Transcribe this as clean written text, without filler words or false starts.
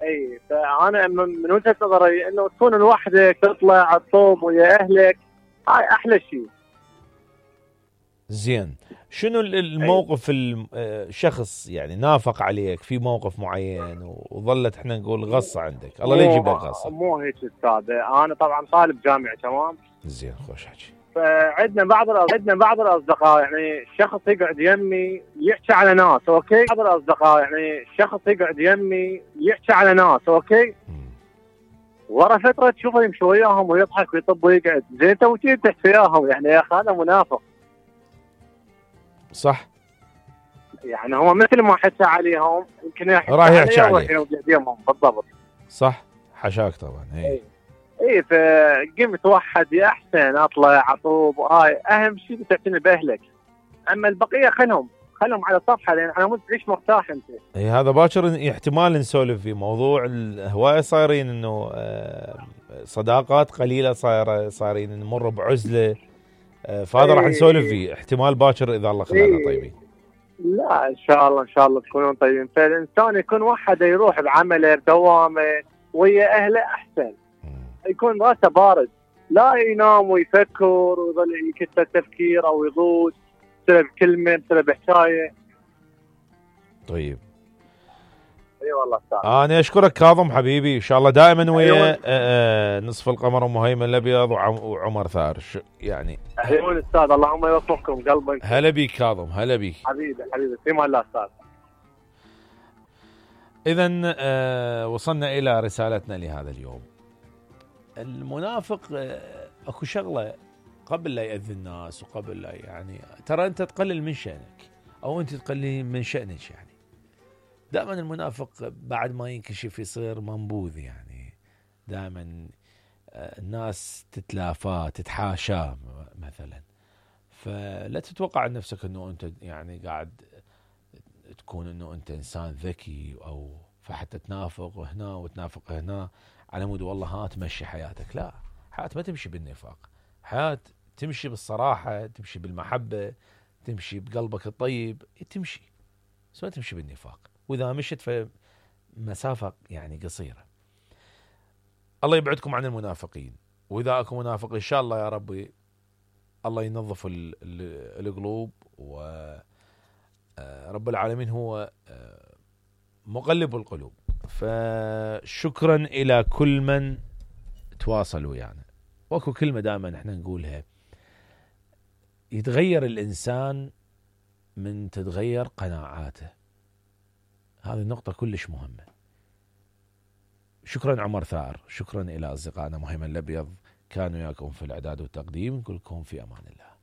اي فانا من وجهه نظري انه تكون لوحدك تطلع تصوم ويا اهلك، هاي احلى شيء. زين، شنو الموقف الشخص يعني نافق عليك في موقف معين وظلت احنا نقول غصه عندك، الله لا يجيب لك غصه؟ مو هيك استاذ، انا طبعا طالب جامعي تمام. زين، خوش حكي. فعندنا بعض الاصدقاء يعني شخص يقعد يمي يحكي على ناس، اوكي؟ بعض الاصدقاء يعني شخص يقعد يمي يحكي على ناس، اوكي؟ ورا فتره تشوفه يمشي وياهم ويضحك ويطب ويقعد، زين انت وش تحكي وياهم يعني يا اخي؟ هذا منافق. صح، يعني هو مثل ما حكى عليهم يمكن راح يحكي عليك بالضبط. صح، حشاك طبعا. اي فقمت وحد يا احسن اطلع اطوب، وهاي اهم شيء تعتني باهلك، اما البقيه خلهم على صفحه، لان على مود تعيش مرتاح انت. اي هذا باكر احتمال نسولف في موضوع الهوايه، صايرين انه صداقات قليله صايرين نمر بعزله، فهذا راح نسولف فيه احتمال باكر اذا الله خلانا طيبين. لا ان شاء الله تكونون طيبين. فالانسان يكون وحده يروح بعمله بدوامه ويا اهله احسن، يكون راسه بارد، لا ينام ويفكر ويظل يكتر تفكير او يغوص بسبب كلمه بسبب حكايه. طيب، اي والله استاذ. انا اشكرك كاظم حبيبي، ان شاء الله دائما ويا نصف القمر ام هيمن الابيض وعمر ثار يعني. ايوه استاذ، اللهم يوفقكم قلبك. هلا بيك كاظم، هلا بيك حبيبي في مال الله استاذ. اذا وصلنا الى رسالتنا لهذا اليوم. المنافق اكو شغله قبل لا يأذي الناس وقبل لا يعني ترى انت تقلل من شأنك او انت تقلل من شأنك، يعني دائما المنافق بعد ما ينكشف يصير منبوذ، يعني دائما الناس تتلافاه تتحاشاه مثلا. فلا تتوقع عن نفسك انه انت يعني قاعد تكون انه انت انسان ذكي او فحتى تنافق هنا وتنافق هنا على مود والله ها تمشي حياتك. لا، حياة ما تمشي بالنفاق، حياة تمشي بالصراحة، تمشي بالمحبة، تمشي بقلبك الطيب، تمشي بس ما تمشي بالنفاق، واذا مشت فمسافة يعني قصيرة. الله يبعدكم عن المنافقين، واذا اكو منافق ان شاء الله يا ربي الله ينظف القلوب، ورب العالمين هو مقلب القلوب. فشكرا الى كل من تواصل ويانا. واكو كلمة دائما احنا نقولها، يتغير الانسان من تتغير قناعاته. هذه النقطة كلش مهمة. شكرا عمر ثار، شكرا الى اصدقائنا ام هيمن الابيض، كانوا وياكم في الاعداد والتقديم. نقول لكم في امان الله.